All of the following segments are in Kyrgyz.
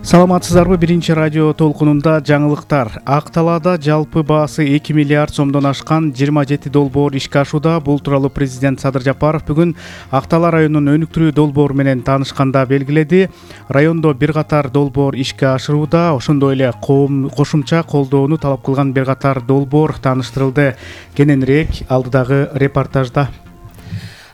Саламатсыздарбы? Биринчи радио толкунунда жаңылыктар. Ак Талаада жалпы баасы 2 миллиард сомдон ашкан 27 долбоор ишке ашууда. Бул тууралуу президент Садыр Жапаров бүгүн Ак Тала районунун өнүктүрүү долбоору менен таанышканда белгиледи. Райондо бир катар долбоор ишке ашырууда, ошондой эле кошумча колдоону талап кылган бир катар долбоор тааныштырылды. Кененирээк алдыдагы репортажда.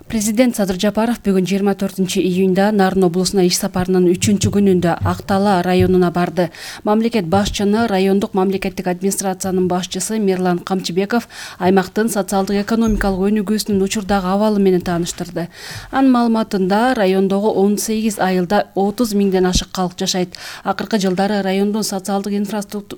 Президент Садыр Жапаров бүгүн 24-июнда Нарын облусуна иш сапарынын 3-күнүндө Ак Тала районуна барды. Мамлекет башчыны райондук мамлекеттик администрациянын башчысы Мирлан Камчыбеков аймактын социалдык экономикалык өнүгүүсүнүн учурдагы абалы менен тааныштырды. Анын маалыматында райондогу 18 айылда 30 миңден ашык калк жашайт. Акыркы жылдары райондун социалдык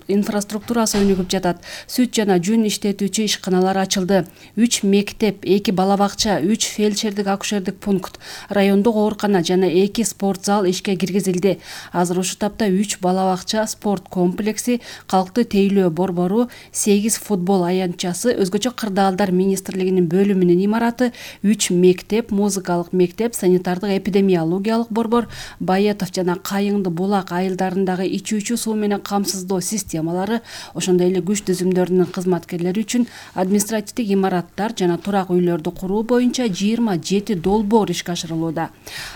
инфраструктурасы өнүгүп жатат. Сүт жана жүн иштетүүчү ишканалар ачылды. 3 мектеп, 2 бала бакча, 3 фельдшердик акушердик пункт, райондук оорукана жана 2 спорт зал ишке киргизилди. Азыр ушул тапта 3 бала бакча, спорт комплекси, калкты тейлөө борбору, 8 футбол аянтчасы, өзгөчө кырдаалдар министрлигинин бөлүмүнүн имараты, 3 мектеп, музыкалык мектеп, санитардык эпидемиологиялык борбор, Байетов жана Кайыңды булак айылдарындагы ичүүчү суу менен камсыздоо системалары, ошондой эле күч түзүмдөрүнүн кызматкерлери үчүн административдик имараттар жана турак үйлөрдү куруу боюнча 27 долбоор ишке ашырылууда.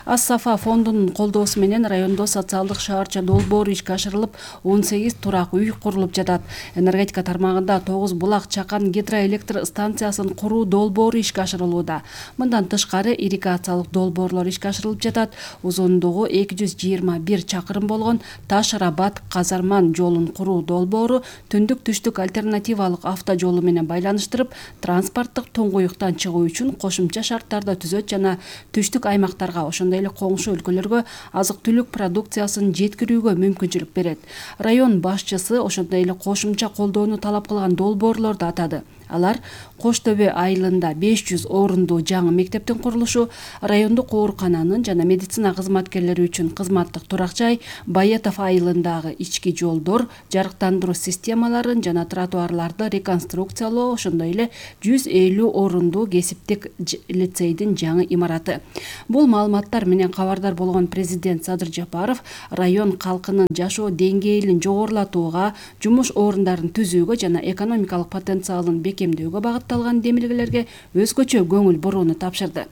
Ас-Сафа фондунун колдоосу менен райондо социалдык шаарча долбоору ишке ашырылып, 18 турак үй курулуп жатат. Энергетика тармагында 9 булак чакан гидроэлектр станциясын куруу долбоору ишке ашырылууда. Мындан тышкары ирригациялык долбоорлор ишке ашырылып жатат. Узундугу 221 чакырым болгон Таш-Рабат Казарман жолун куруу долбоору түндүк-түштүк альтернативалык автожолу менен байланыштырып, транспорттук туңгуюктан чыгуу үчүн кошумча шарттарды түзөт жана түштүк аймактарга, ошондой эле коңшу өлкөлөргө азык-түлүк продукциясын жеткирүүгө мүмкүнчүлүк берет. Район башчысы ошондой эле кошумча колдоону талап кылган долбоорлорду атады. Алар Кош Төбө айылында 500 орундуу жаңы мектептин курулушу, райондук оорукананын жана медицина кызматкерлери үчүн кызматтык турак жай, Байетов айылындагы ички жолдор, жарыктандыруу системаларын жана тротуарларды реконструкциялоо, ошондой эле 150 орундуу кесиптик лицейдин жаңы имараты. Бул маалыматтар менен кабардар болгон президент Садыр Жапаров район калкынын жашоо деңгээлин жогорулатууга, жумуш орундарын түзүүгө жана экономикалык потенциалын бекемдөөгө багытталган демилгелерге өзгөчө көңүл бурууну тапшырды.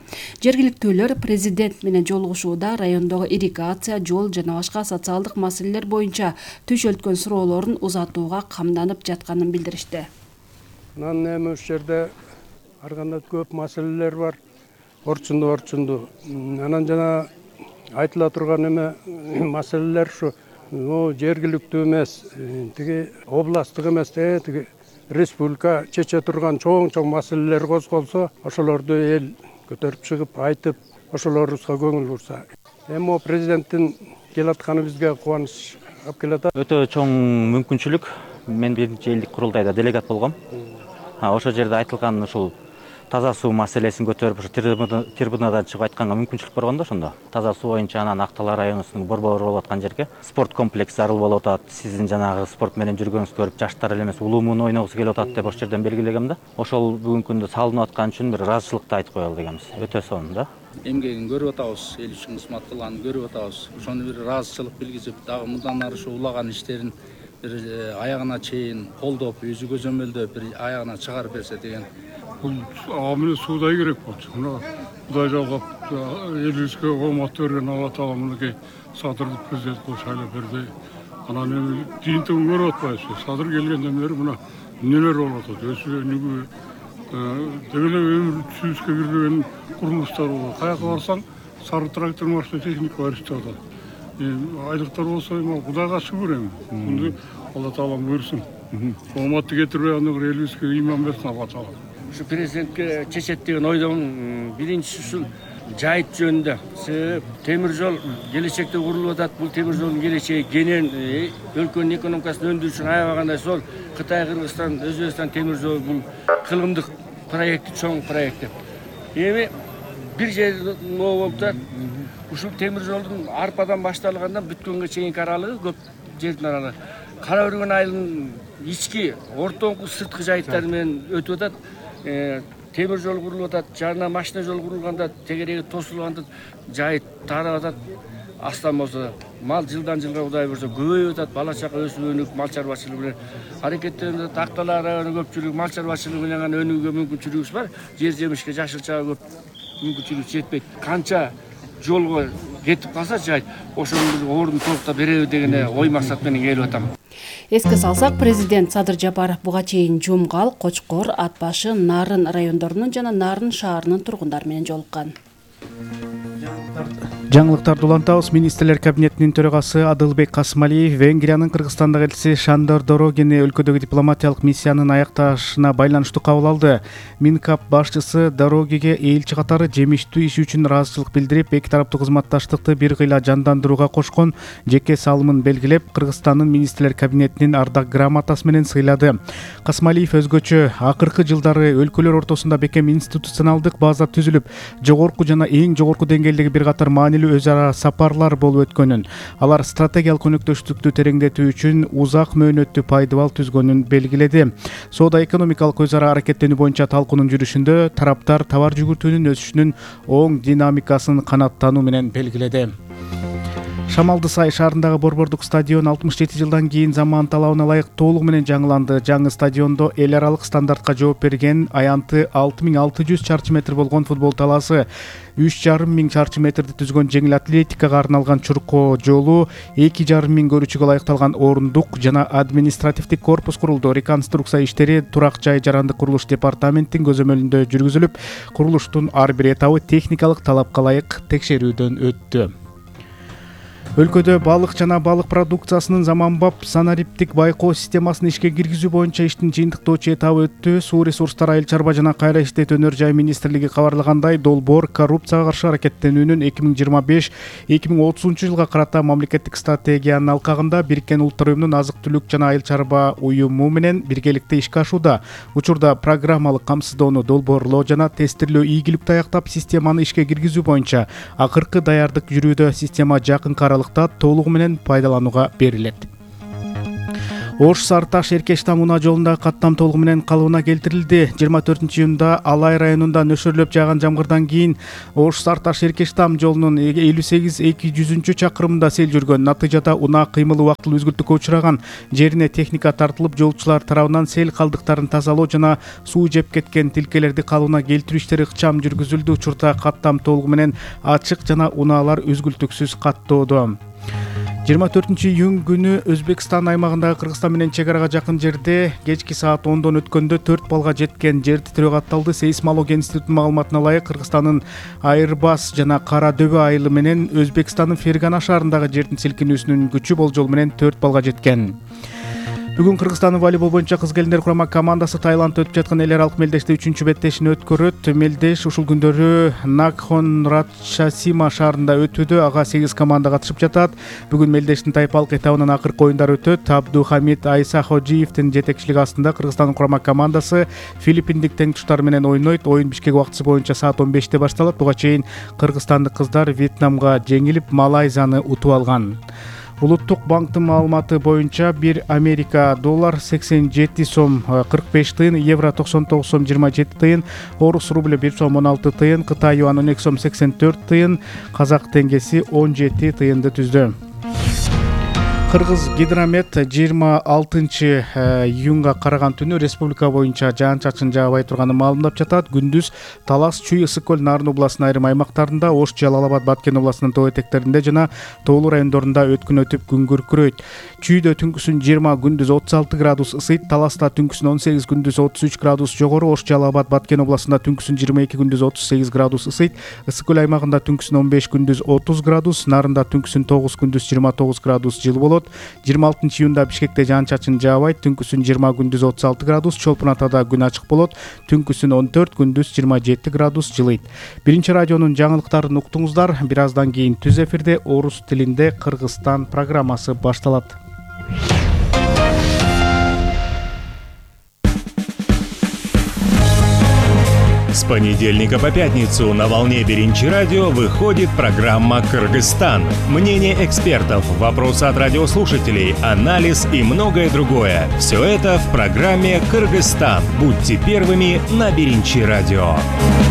Жергиликтүүлөр президент менен жолугушууда райондогу ирригация, жол жана башка социалдык маселелер боюнча түшөлткөн суроолорун узатууга камданып жатканын билдиришти. Анан эми ушул жерде ар кандай көп маселелер бар. Орчунду. Анан жана айтыла турган эме маселелер ушу жергиликтүү эмес, тиги областтык эмес, тиги республика чече турган чоң маселелер козголсо, ошолорду эл көтөрүп чыгып айтып, ошолорубузга көңүл бурса. Эми президенттин келатканы бизге кубаныч алып келатат. Өтө чоң мүмкүнчүлүк. Мен биринчи элдик курултайда делегат болгом. Ошол жерде айтылган ушул таза суу маселесин көтөрүп, ушу трибунадан чыгып айтканга мүмкүнчүлүк болгондо, ошондо таза суу боюнча анан Ак Тала районунун борбору болуп аткан жерге спорт комплекс зарыл болуп атат. Сиздин жанагы спорт менен жүргөнүңүздү көрүп, жаштар эле эмес, улуумун ойногусу келип атат деп ошол жерден белгилегем да. Ошол бүгүнкү күндө салынып аткан үчүн бир ыраазычылыкты айтып коелу дегенбиз. Өтө сонун да. Эмгегин көрүп атабыз, эл үчүн кызмат кылганын көрүп атабыз. Ошону бир ыраазычылык билгизип, дагы мындан ары ушу улаган иштерин бир аягына чейин колдоп, өзү көзөмөлдөп, бир аягына чыгарып берсе деген. Бул амиле суудай керек болчу. Мына Кудай жалгап элибизге оомат берген Алла Таала мынакей Садырды президент кылып шайлап берди. Анан эми жыйынтыгын көрүп атпайбызбы? Садыр келгенден бери мына эмнелер болуп атат? Өсүү өнүгүү, деги эле өмүр түсүбүзгө кирбеген курулуштар болот. Каяка барсаң, сары трактор машина техника бар иштеп атат. Айлыктар болсо эми Кудайга шүгүр эми. Алла Таалам буйрсун. Ооматты кетирбей аны элибизге ыйман берсин Алла Таала. Ушу президентке чечет деген ойдомун. Биринчиси ушул жайыт жөнүндө. Темир жол келечекте курулуп атат. Бул темир жолдун келечеги кенен, өлкөнүн экономикасын өндүрүү үчүн аябагандай сол Кытай, Кыргызстан, Өзбекстан темир жолу бул кылымдык проекти, чоң проекти. Эми бир жери ноо болуп турат. Ушул темир жолдун арпадан башталгандан бүткөнгө чейинки аралыгы көп жердин аралыгы. Кара Өргөн айылынын ички, ортоңку, сырткы жайыттары менен өтүп атат. Темир жол курулуп атат, жарына машина жол курулганда, тегереги тосулганда жайыт тарап атат. астам болсо, мал жылдан жылга Кудай буйрса көбөйүп атат, бала чака өсүп өнүгүп мал чарбачылыгы менен аракеттенип атат. Актала району көпчүлүк мал чарбачылыгы менен гана өнүгүүгө мүмкүнчүлүгүбүз бар. Жер жемишке, жашылчага көп мүмкүнчүлүк жетпейт. Канча жолго кетип калса жайт, ошонун биз ордун толуктап беребиз деген ой максат менен келип атам. Эске салсак, президент Садыр Жапаров буга чейин Жумгал, Кочкор, Ат башы, Нарын райондорунун жана Нарын шаарынын тургундары менен жолуккан. Жаңылыктарды улантабыз. Министрлер кабинетинин төрагасы Адылбек Касымалиев Венгриянын Кыргызстандагы элчиси Шандор Дорогини өлкөдөгү дипломатиялык миссиянын аякташына байланыштуу кабыл алды. Минкап башчысы Дорогиге элчи катары жемиштүү иш үчүн ыраазычылык билдирип, эки тараптуу кызматташтыкты бир кыйла жандандырууга кошкон жеке салымын белгилеп, Кыргызстандын министрлер кабинетинин ардак грамотасы менен сыйлады. Касымалиев өзгөчө акыркы жылдары өлкөлөр ортосунда бекем институционалдык база түзүлүп, жогорку жана эң жогорку деңгээлдеги бир катар маанилүү өз ара сапарлар болуп өткөнүн, алар стратегиялык өнөктөштүктү тереңдетүү үчүн узак мөөнөттүү пайдабал түзгөнүн белгиледи. Соода экономикалык өз ара аракеттенүү боюнча талкуунун жүрүшүндө тараптар товар жүгүртүүнүн өсүшүнүн оң динамикасын канааттануу менен белгиледи. Шамалды Сай шаарындагы борбордук стадион 67 жылдан кийин заман талабына ылайык толугу менен жаңыланды. Жаңы стадиондо эл аралык стандартка жооп берген аянты 6600 чарчы метр болгон футбол талаасы, 3500 чарчы метрди түзгөн жеңил атлетикага арналган чуркоо жолу, 2500 көрүүчүгө ылайыкталган орундук жана административдик корпус курулду. Реконструкция иштери Турак жай жарандык курулуш департаментинин көзөмөлүндө жүргүзүлүп, курулуштун ар бир этабы техникалык талапка ылайык текшерүүдөн өттү. Өлкөдө балык жана балык продукциясынын заманбап санариптик байкоо системасын ишке киргизүү боюнча иштин жыйынтыктоочу этабы өттү. Суу ресурстары, айыл чарба жана кайра иштетүү өнөр жай министрлиги кабарлагандай, долбоор коррупцияга каршы аракеттенүүнүн 2025-2030 жылга карата мамлекеттик стратегиянын алкагында Бириккен Улуттар Уюмунун азык-түлүк жана айыл чарба уюму менен биргеликте ишке ашууда. Учурда программалык камсыздоону долбоорлоо жана тестирлөө ийгиликтүү аяктап, системаны ишке киргизүү боюнча акыркы даярдык жүрүүдө. Система жакынкы аралыкта толугу менен пайдаланууга берилет. Ош Сарташ Эркештам унаа жолундагы каттам толугу менен калыбына келтирилди. 24-июнда Алай районунда нөшөрлөп жааган жамгырдан кийин Ош Сарташ Эркештам жолунун 58-200 чакырымында сел жүргөн. Натыйжада унаа кыймылы убактылуу үзгүлтүккө учураган. Жерине техника тартылып, жолчулар тарабынан сел калдыктарын тазалоо жана суу жеп кеткен тилкелерди калыбына келтирүү иштери ыкчам жүргүзүлдү. Учурда каттам толугу менен ачык жана унаалар үзгүлтүксүз каттоодо. 24-июнь күнү Өзбекстан аймагындагы Кыргызстан менен чек арага жакын жерде кечки саат 10дон өткөндө 4 баллга жеткен жер титирөө катталды. Сейсмология институтунун маалыматына ылайык, Кыргызстандын Айырбас жана Кара Дөбө айылы менен Өзбекстандын Фергана шаарындагы жердин силкинүүсүнүн күчү болжол менен 4 баллга жеткен. Бүгүн Кыргызстандын волейбол боюнча кыз келиндер курама командасы Таиландда өтүп жаткан эл аралык мелдеште 3-чү беттешин өткөрөт. Мелдеш ушул күндөрү Накхон Радшасима шаарында өтүүдө. Ага 8 команда катышып жатат. Бүгүн мелдештин тайпалык этабынын акыркы оюндары өтөт. Абду Хамид Айсахожиевдин жетекчилиги астында Кыргызстандын курама командасы филиппиндик теңтуштары менен ойнойт. Оюн Бишкек убактысы боюнча саат 15-те башталат. Буга чейин кыргызстандык кыздар Вьетнамга жеңилип, Малайзияны утуп алган. Улуттук банктын маалыматы боюнча 1 Америка доллар 87 сом 45 тыйын, евро 99 сом 27 тыйын, орус рубль 1 сом 16 тыйын, Кытай юаны 12 сом 84 тыйын, казак теңгеси 17 тыйынды түздү. Кыргыз Гидромет 26-июнга караган түнү республика боюнча жаан-чачын жаабай турганын маалымдап жатат. Күндүз Талас, Чүй, Ысык көл, Нарын областынын айрым аймактарында, Ош, Жалал Абад, Баткен областынын тоо этектеринде жана тоолуу райондорунда өткүн өтүп күн күркүрөйт. Чүйдө түнкүсүн 20, күндүз 36 градус ысыйт. Таласта түнкүсүн 18, күндүз 33 градус жогору. Ош, Жалал Абад, Баткен областында түнкүсүн 22, күндүз 38 градус ысыйт. Ысык көл аймагында түнкүсүн 15, күндүз 30 градус. Нарында түнкүсүн 9, күндүз 29 градус жылы болот. 26-июнда Бишкекте жаан-чачын жаабайт. Түнкүсүн 20, күндүз 36 градус. Чолпун Атада күн ачык болот. Түнкүсүн 14, күндүз 27 градус жылыйт. Биринчи радионун жаңылыктарын уктуңуздар. Бир аздан кийин түз эфирде орус тилинде Кыргызстан программасы башталат. С понедельника по пятницу на волне Биринчи радио выходит программа «Кыргызстан». Мнение экспертов, вопросы от радиослушателей, анализ и многое другое. Все это в программе «Кыргызстан». Будьте первыми на Биринчи радио.